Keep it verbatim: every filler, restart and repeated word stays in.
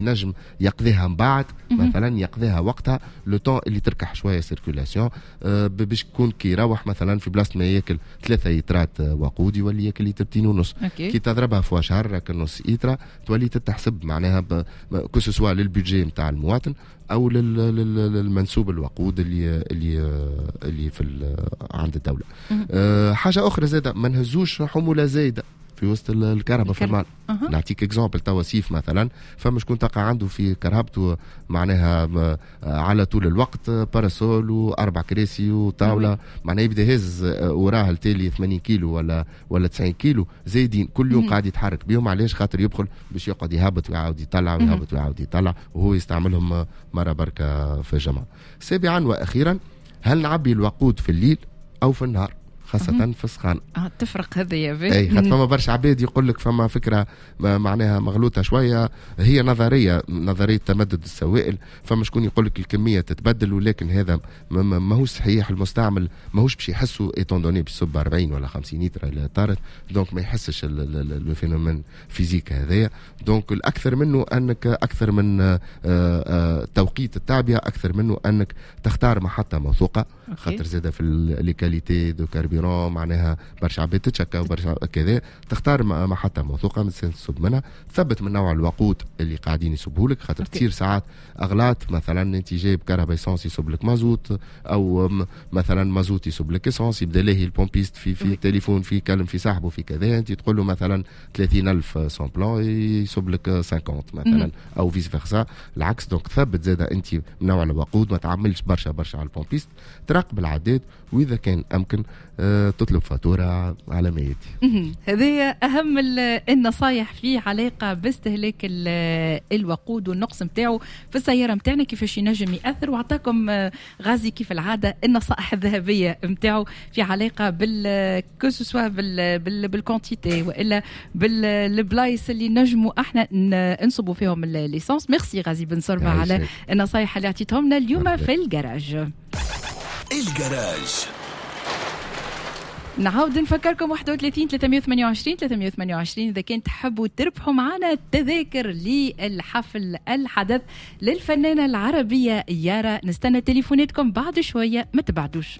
نجم يقضيها من بعد، مثلا يقضيها وقتها le temps اللي تركح شوية circulation، آه، باش يكون كي يروح مثلا في بلاصة ما ياكل ثلاثة لترات وقود يولي ياكل لترتين ونص. كي تضربها fois شهر نص ايترا تولي تتحسب معناها que ce soit لل budget نتاع المواطن او للمنسوب الوقود اللي اللي اللي في عند الدوله. أه حاجة اخرى زاده، ما نهزوش حمولة زايدة في وسط الكرهبة في المال. أه. نعطيك exemple، توا صيف مثلا، فما شكون تلقى عنده في كرهبته معناها على طول الوقت parasol واربع كراسي وطاوله، معناها يبدا هز وراه التالي ثمانين كيلو ولا ولا تسعين كيلو زايدين، كل يوم قاعد يتحرك بهم. علاش؟ خاطر يبخل باش يقعد يهبط ويعاود يطلع ويهبط ويعاود يطلع، وهو يستعملهم مرة بركة في الجمعه. سابعا واخيرا، هل نعبي الوقود في الليل او في النهار؟ خاصة في السخان. اه، تفرق هذا يا اي، خاطر فما برشا عباد يقول لك فما فكرة معناها مغلوطة شوية، هي نظرية نظرية تمدد السوائل. فما شكون يقول لك الكمية تتبدل، ولكن هذا ماهوش صحيح. المستعمل ماهوش باش يحسوا étant donné باش يصب أربعين ولا خمسين لتر اللي طارت، donc ما يحسش le phénomène physique هذايا. donc الاكثر منه انك اكثر من آه، آه، توقيت التعبئة، اكثر منه انك تختار محطة موثوقة، خاطر زاده في les qualités de carburant معناها برشا عباد تتشكى وبرشا كذا. تختار محطة موثوقة من تصب منها، ثبت من نوع الوقود اللي قاعدين يصبوا لك، خاطر تصير ساعات اغلاط. مثلا انت جايب كرهبة essence يصب لك مازوت، او مثلا مازوت يصب لك essence. يبدا لاهي ال pompiste في في التليفون، في كلم في صاحبه، في كذا، انت تقول له مثلا ثلاثين ألف sans plomb، يصب لك خمسين مثلا، او vice versa العكس. donc ثبت زاد انت من نوع الوقود، ما تعملش برشا برشا على ال pompiste، تراقب العداد، واذا كان امكن آه، تطلب فاتورة على ما ياتي. هذه اهم النصايح في علاقة باستهلاك الوقود والنقص نتاعو في السيارة نتاعنا، كيفاش ينجم ياثر. وعطاكم آه، غازي كيف العادة النصائح الذهبية نتاعو في علاقة بال que ce soit بال quantité والا بالبلايص اللي نجموا احنا نصبوا فيهم l'essence. merci غازي بن صربه على النصايح اللي اعطيتهم لنا اليوم في الجراج. الجراج. نعاود نفكركم واحد وثلاثين ثلاثمية وثمانية وعشرين ثلاثمية وثمانية وعشرين اذا كان تحبوا تربحوا معنا تذاكر للحفل الحدث للفنانه العربية يارا. نستنى تليفوناتكم بعد شويه، ما تبعدوش.